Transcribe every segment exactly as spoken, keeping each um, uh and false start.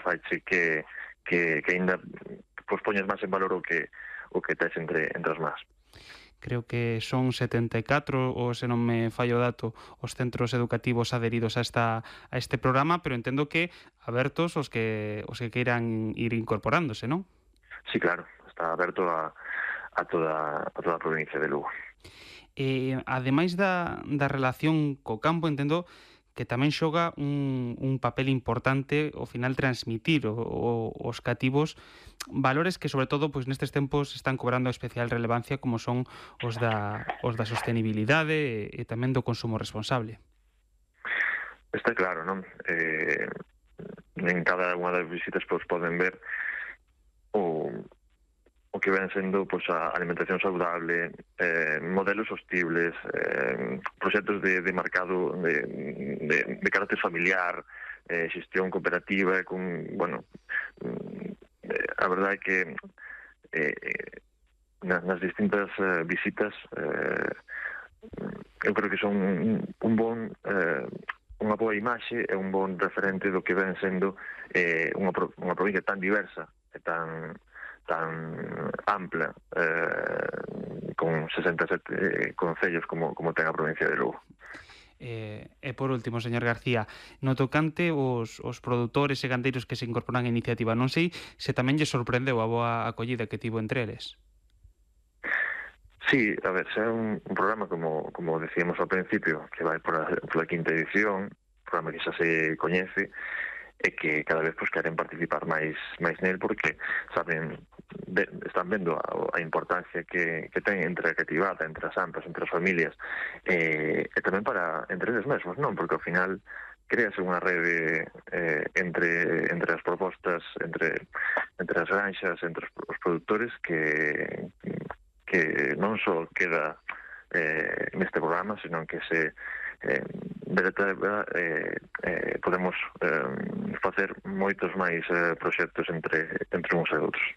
faiche que, que, que ainda pois, poñes máis en valor o que, o que tes entre, entre as más. Creo que son setenta e catro, ou se non me fallo o dato, os centros educativos adheridos a esta a este programa, pero entendo que abertos os que os que queiran ir incorporándose, non? Sí, claro, está aberto a, a, toda, a toda a provincia de Lugo. E, ademais da, da relación co campo, entendo que tamén xoga un, un papel importante ao final transmitir o, o, os cativos valores que, sobre todo, pois nestes tempos están cobrando especial relevancia, como son os da, os da sostenibilidade e, e tamén do consumo responsable. Está claro, non? Eh, en cada unha das visitas pois, poden ver o, o que ven sendo pois, a alimentación saudable, eh, modelos sostibles, eh, proxectos de, de mercado de, de, de carácter familiar, eh, xestión cooperativa, con, bueno, eh, a verdade é que eh, nas, nas distintas eh, visitas eh, eu creo que son un, un bon eh, unha boa imaxe e un bon referente do que ven sendo eh, unha, unha provincia tan diversa e tan tan ampla, eh, con sesenta e sete concellos como, como ten a provincia de Lugo. Eh, e por último, señor García, no tocante os, os produtores e gandeiros que se incorporan á iniciativa, non sei se tamén lle sorprendeu a boa acollida que tivo entre eles. Sí, a ver, se é un, un programa, como, como decíamos ao principio, que vai por a, por a quinta edición, un programa que xa se coñece, e que cada vez pues, queren participar máis máis nel porque saben ve, están vendo a, a importancia que, que ten entre a cativada, entre as amplas, entre as familias e, e tamén para entre eles mesmos, non? Porque ao final créase unha rede eh, entre entre as propostas, entre entre as granxas, entre os, os produtores que que non só queda eh, neste programa, senón que se Eh, verdade, eh, eh, podemos eh, facer moitos máis eh, proxectos entre, entre uns e outros.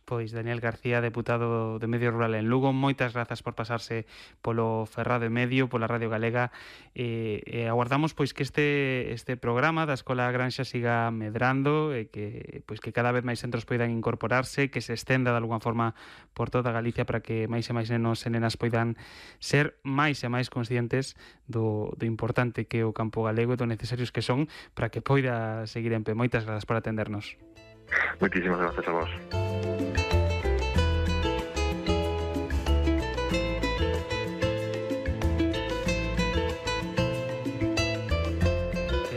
Pois Daniel García, deputado de Medio Rural en Lugo, moitas grazas por pasarse polo Ferrado e Medio, pola Radio Galega, e, e aguardamos pois que este este programa da Escola Granxa siga medrando e que pois que cada vez máis centros poidan incorporarse, que se estenda de alguna forma por toda Galicia para que máis e máis nenos e nenas poidan ser máis e máis conscientes do, do importante que é o campo galego e do necesarios que son para que poida seguir en pé. Moitas grazas por atendernos. Moitísimas grazas a vos.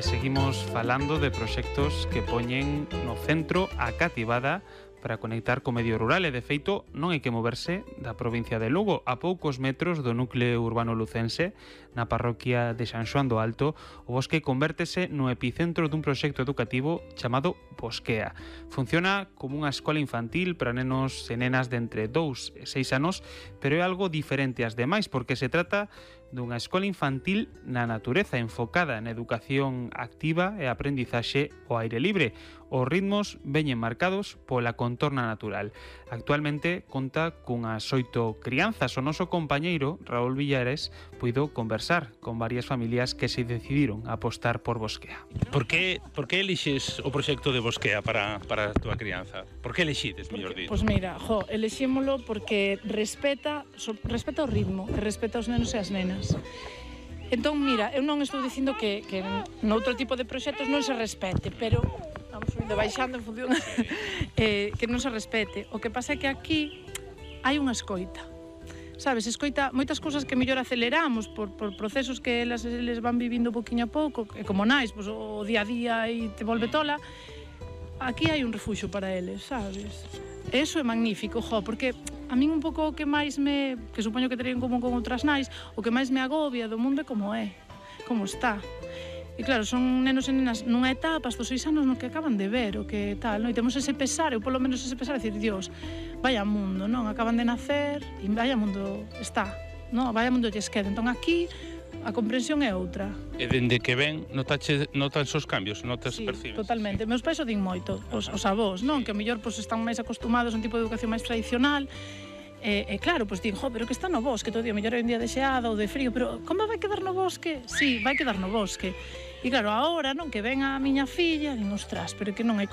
Seguimos falando de proxectos que poñen no centro a cativada para conectar co medio rural e, de feito, non hai que moverse da provincia de Lugo. A poucos metros do núcleo urbano lucense, na parroquia de San Xoán do Alto, o bosque convértese no epicentro dun proxecto educativo chamado Bosquea. Funciona como unha escola infantil para nenos e nenas de entre dous e seis anos, pero é algo diferente ás demais, porque se trata dunha escola infantil na natureza, enfocada na educación activa e aprendizaxe ao aire libre. Os ritmos veñen marcados pola contorna natural. Actualmente conta cunhas oito crianzas. O noso compañeiro, Raúl Villares, puido conversar con varias familias que se decidiron a apostar por Bosquea. Por que, por que elixes o proxecto de Bosquea para, para a túa crianza? Por que elixides, mellor dito? Pois mira, jo, elixímolo porque respeta, so, respeta o ritmo, e respeta os nenos e as nenas. Entón, mira, eu non estou dicindo que, que noutro tipo de proxectos non se respete, pero vamos subindo baixando en función eh, que non se respete. O que pasa é que aquí hai unha escoita. Sabes, escoita moitas cousas que mellor aceleramos por, por procesos que elas les van vivindo poquinho a pouco, e como nais, pois, o día a día e te volve tola. Aquí hai un refuxo para eles, sabes? E iso é magnífico, jo, porque a min un pouco o que máis me, que supoño que terían como con outras nais, o que máis me agobia do mundo é como é, como está. E claro, son nenos e nenas nunha etapa, estos seis anos no que acaban de ver, o que tal, non? E temos ese pesar, eu polo menos ese pesar, decir, Dios, vaya mundo, non? Acaban de nacer e vaya mundo está, non? Vaya mundo lles queda. Entón aquí a comprensión é outra. E dende que ven, notache, notas os cambios, notas, sí, percibes? Totalmente. Meus pais o din moito, os, os avós, non? Que a mellor pois, están máis acostumados a un tipo de educación máis tradicional. E, e claro, pois din, jo, pero que está no bosque todo o día, mellor é un día de xeada ou de frío, pero como vai quedar no bosque? Sí, vai quedar no bosque. E claro, agora, non, que ven a miña filla, din, ostras, pero que non hai